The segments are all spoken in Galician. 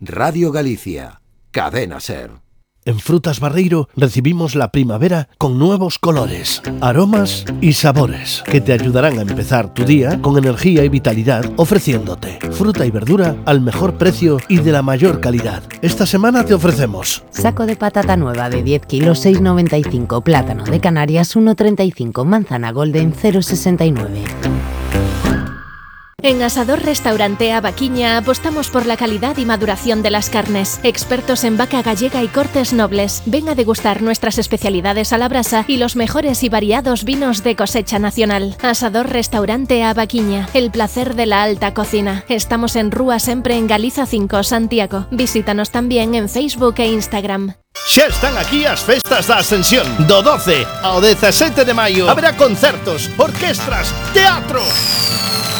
Radio Galicia, Cadena Ser. En Frutas Barreiro recibimos la primavera con nuevos colores, aromas y sabores que te ayudarán a empezar tu día con energía y vitalidad, ofreciéndote fruta y verdura al mejor precio y de la mayor calidad. Esta semana te ofrecemos saco de patata nueva de 10 kilos 6,95, plátano de Canarias 1,35, manzana golden 0,69. En Asador Restaurante Avaquiña apostamos por la calidad y maduración de las carnes. Expertos en vaca gallega y cortes nobles. Ven a degustar nuestras especialidades a la brasa y los mejores y variados vinos de cosecha nacional. Asador Restaurante Avaquiña, el placer de la alta cocina. Estamos en Rúa Sempre en Galiza 5, Santiago. Visítanos también en Facebook e Instagram. Xa están aquí as festas da Ascensión. Do 12 ao 17 de maio haberá concertos, orquestras, teatro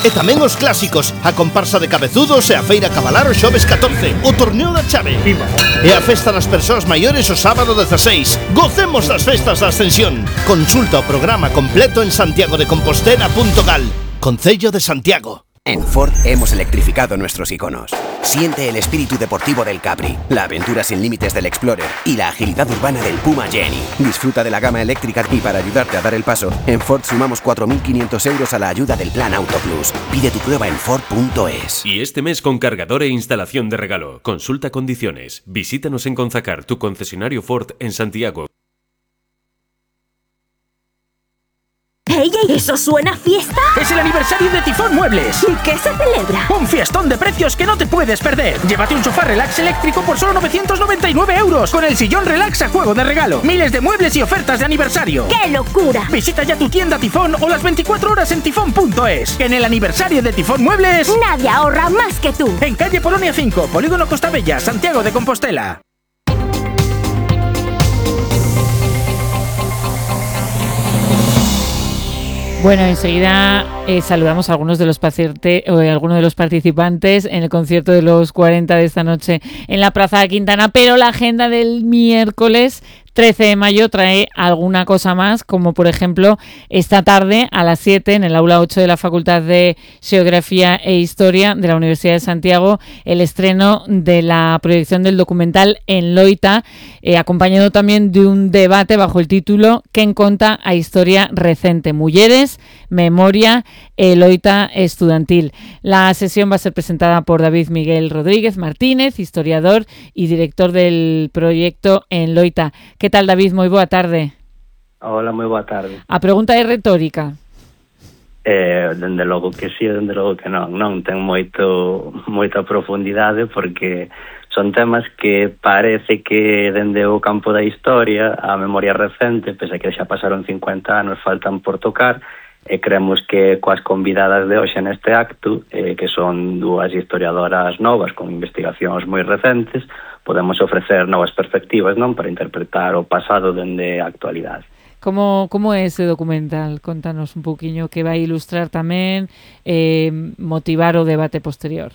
e tamén os clásicos, a comparsa de cabezudos e a feira cabalar o xoves 14, o torneo da chave e a festa das persoas maiores o sábado 16. Gocemos das festas da Ascensión. Consulta o programa completo en santiagodecompostela.gal. Concello de Santiago. En Ford hemos electrificado nuestros iconos. Siente el espíritu deportivo del Capri, la aventura sin límites del Explorer y la agilidad urbana del Puma Jenny. Disfruta de la gama eléctrica y para ayudarte a dar el paso, en Ford sumamos 4.500 euros a la ayuda del Plan Auto Plus. Pide tu prueba en Ford.es. Y este mes con cargador e instalación de regalo. Consulta condiciones. Visítanos en Conzacar, tu concesionario Ford en Santiago. ¡Ey, eso suena a fiesta! ¡Es el aniversario de Tifón Muebles! ¿Y qué se celebra? ¡Un fiestón de precios que no te puedes perder! Llévate un sofá relax eléctrico por solo 999 euros, con el sillón relax a juego de regalo. Miles de muebles y ofertas de aniversario. ¡Qué locura! Visita ya tu tienda Tifón o las 24 horas en tifón.es. En el aniversario de Tifón Muebles, nadie ahorra más que tú. En calle Polonia 5, Polígono Costa Bella, Santiago de Compostela. Bueno, enseguida saludamos a algunos de los participantes en el concierto de los 40 de esta noche en la Plaza de Quintana, pero la agenda del miércoles 13 de mayo trae alguna cosa más, como por ejemplo esta tarde a las 7 en el aula 8 de la Facultad de Xeografía e Historia de la Universidad de Santiago, el estreno de la proyección del documental En Loita, acompañado también de un debate bajo el título Quen conta a historia recente, Mulleres, Memoria e Loita estudantil. La sesión va a ser presentada por David Miguel Rodríguez Martínez, historiador y director del proyecto En Loita. Que tal, David? Moi boa tarde. Hola, moi boa tarde. A pregunta é retórica. Dende logo que sí, dende logo que non. Non ten moita profundidade porque son temas que parece que dende o campo da historia a memoria recente, pese a que xa pasaron 50 anos, faltan por tocar, e creemos que coas convidadas de hoxe neste acto, que son dúas historiadoras novas con investigacións moi recentes, podemos ofrecer novas perspectivas, non, para interpretar o pasado dende a actualidade. Como é ese documental? Contanos un pouquiño que vai ilustrar tamén, motivar o debate posterior.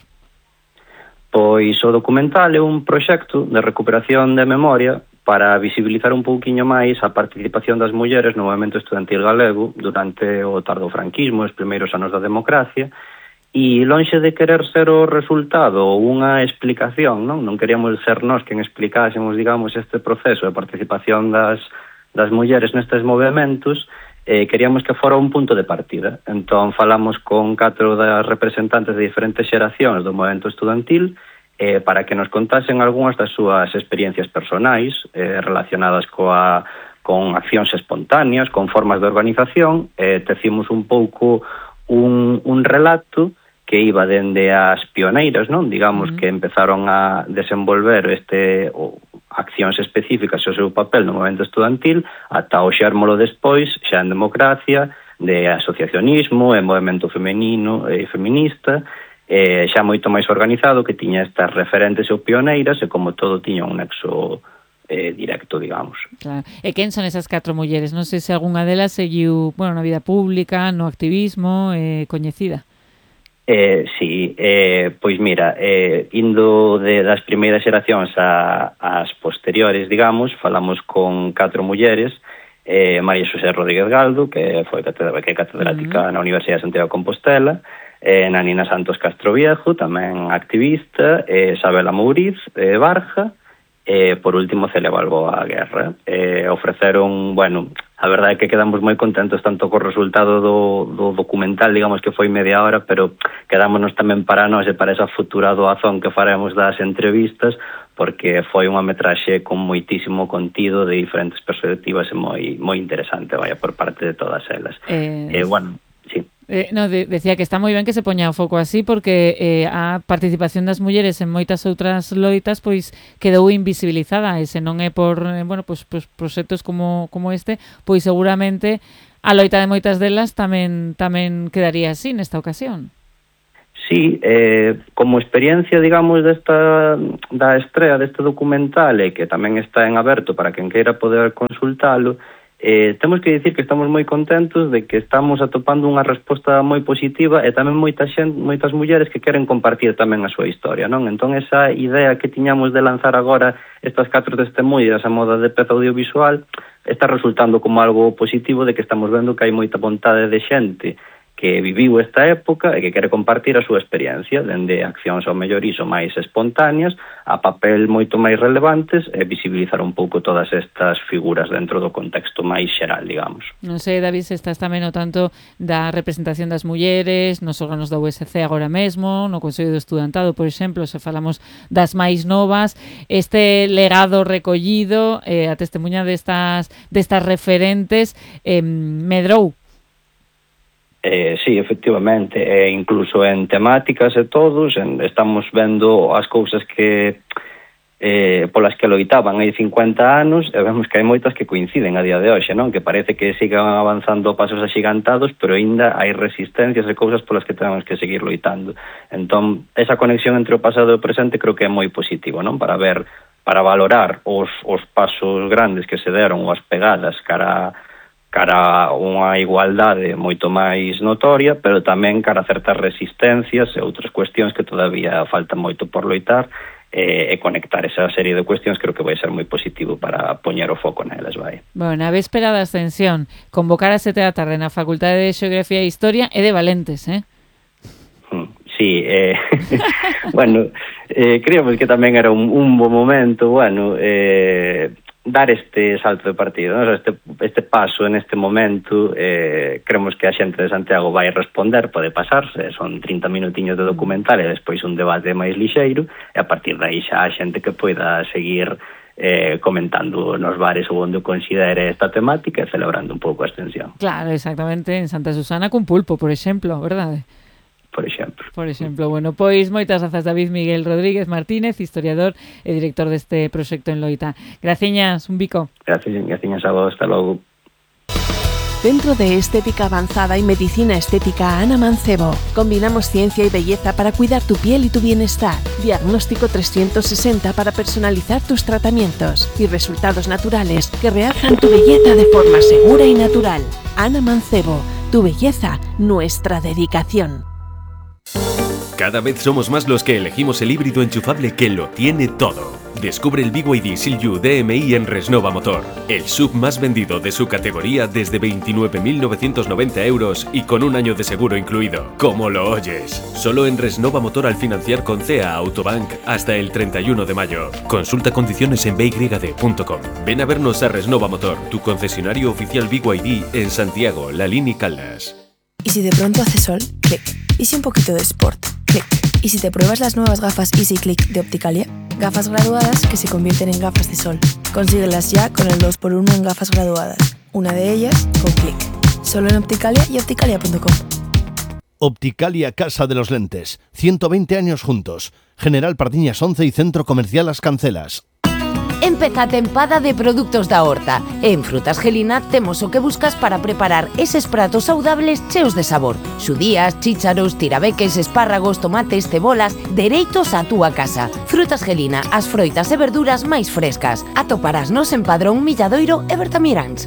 Pois o documental é un proxecto de recuperación de memoria para visibilizar un pouquiño máis a participación das mulleres no movemento estudantil galego durante o tardofranquismo, os primeiros anos da democracia, e lonxe de querer ser o resultado ou unha explicación, non queríamos ser nós quen explicásemos, digamos, este proceso de participación das mulleres nestes movimentos, queríamos que fora un punto de partida. Entón falamos con 4 das representantes de diferentes xeracións do movimento estudantil para que nos contasen algunhas das súas experiencias personais relacionadas con accións espontáneas, con formas de organización. Tecimos un pouco un relato que iba dende as pioneiras, non? Digamos que empezaron a desenvolver accións específicas o seu papel no movimento estudantil ata o xérmolo despois, xa en democracia, de asociacionismo e movimento femenino e feminista, xa moito máis organizado, que tiña estas referentes ou pioneiras e como todo tiña un nexo directo, digamos. Claro. E quen son esas 4 mulleres? Non sei se algunha delas seguiu, na vida pública, no activismo, coñecida. Sí, pois mira, indo das primeiras xeracións ás posteriores, digamos, falamos con 4 mulleres, María Xosé Rodríguez Galdo, que foi catedrática na Universidade de Santiago de Compostela, Nanina Santos Castroviejo, tamén activista, Isabela Mouriz, Barja, por último Celia Balboa Guerra. Ofreceron, bueno, a verdade é que quedamos moi contentos tanto co resultado do documental, digamos que foi media hora, pero quedámonos tamén para nós e para esa futura doazón que faremos das entrevistas, porque foi unha metraxe con moitísimo contido de diferentes perspectivas e moi interesante, vaya, por parte de todas elas. Bueno, sí. Decía que está moi ben que se poña o foco así porque a participación das mulleres en moitas outras loitas pois quedou invisibilizada e se non é por pues proxectos como este, pois seguramente a loita de moitas delas tamén quedaría así nesta ocasión. Sí, como experiencia, digamos, da estrea deste documental e que tamén está en aberto para quen queira poder consultalo, temos que dicir que estamos moi contentos de que estamos atopando unha resposta moi positiva e tamén moitas mulleres que queren compartir tamén a súa historia, non? Entón, esa idea que tiñamos de lanzar agora estas 4 testemunhas a moda de peza audiovisual está resultando como algo positivo de que estamos vendo que hai moita vontade de xente que viviu esta época e que quere compartir a súa experiencia, dende accións ao mellor iso máis espontáneas a papel moito máis relevantes e visibilizar un pouco todas estas figuras dentro do contexto máis xeral, digamos. Non sei, David, se estás tamén o tanto da representación das mulleres nos órganos da USC agora mesmo, no Consello do Estudantado, por exemplo, se falamos das máis novas, este legado recollido, a testemunha destas referentes, medrou. Sí, efectivamente, incluso en temáticas e todos, estamos vendo as cousas que polas que loitaban hai 50 anos e vemos que hai moitas que coinciden a día de hoxe, non? Que parece que sigan avanzando pasos axigantados, pero aínda hai resistencias e cousas polas que temos que seguir loitando. Entón, esa conexión entre o pasado e o presente creo que é moi positivo, non? Para valorar os pasos grandes que se deron ou as pegadas cara a unha igualdade moito máis notoria, pero tamén cara a certas resistencias e outras cuestións que todavía falta moito por loitar, e conectar esa serie de cuestións creo que vai ser moi positivo para poñer o foco nelas, vai. Bueno, a véspera da ascensión, convocar a 7 da tarde na Facultade de Xeografía e Historia é de valentes, Sí, bueno, creemos que tamén era un bo momento, bueno, dar este salto de partido, ¿no? Este paso en este momento, creemos que a xente de Santiago vai responder, pode pasarse, son 30 minutiños de documental e despois un debate máis lixeiro, e a partir de aí xa a xente que poida seguir comentando nos bares ou onde considere esta temática e celebrando un pouco a extensión. Claro, exactamente, en Santa Susana cun pulpo, por exemplo, verdade? Por exemplo, bueno, pois moitas grazas David Miguel Rodríguez Martínez, historiador e director deste proxecto en Loita. Graciñas, un bico. Graciñas a vos, hasta logo. Centro de Estética Avanzada y Medicina Estética Ana Mancebo. Combinamos ciencia y belleza para cuidar tu piel y tu bienestar. Diagnóstico 360 para personalizar tus tratamientos y resultados naturales que realzan tu belleza de forma segura y natural. Ana Mancebo, tu belleza, nuestra dedicación. Cada vez somos más los que elegimos el híbrido enchufable que lo tiene todo. Descubre el BYD Seal-U DMI en Resnova Motor, el SUV más vendido de su categoría desde 29.990 euros y con un año de seguro incluido. Como lo oyes. Solo en Resnova Motor al financiar con CEA Autobank hasta el 31 de mayo. Consulta condiciones en byd.com. Ven a vernos a Resnova Motor, tu concesionario oficial BYD en Santiago, La Línea y Caldas. ¿Y si de pronto hace sol? Clic. ¿Y si un poquito de sport? Clic. ¿Y si te pruebas las nuevas gafas Easy Click de Opticalia? Gafas graduadas que se convierten en gafas de sol. Consíguelas ya con el 2x1 en gafas graduadas. Una de ellas con clic. Solo en Opticalia y opticalia.com. Opticalia Casa de los Lentes. 120 años juntos. General Pardiñas 11 y Centro Comercial Las Cancelas. Empeza a tempada de produtos da horta. En Frutas Gelina temos o que buscas para preparar eses pratos saudables cheos de sabor. Xudías, chícharos, tirabeques, espárragos, tomates, cebolas, dereitos á túa casa. Frutas Gelina, as froitas e verduras máis frescas. Atoparásnos en Padrón, Milladoiro e Bertamiráns.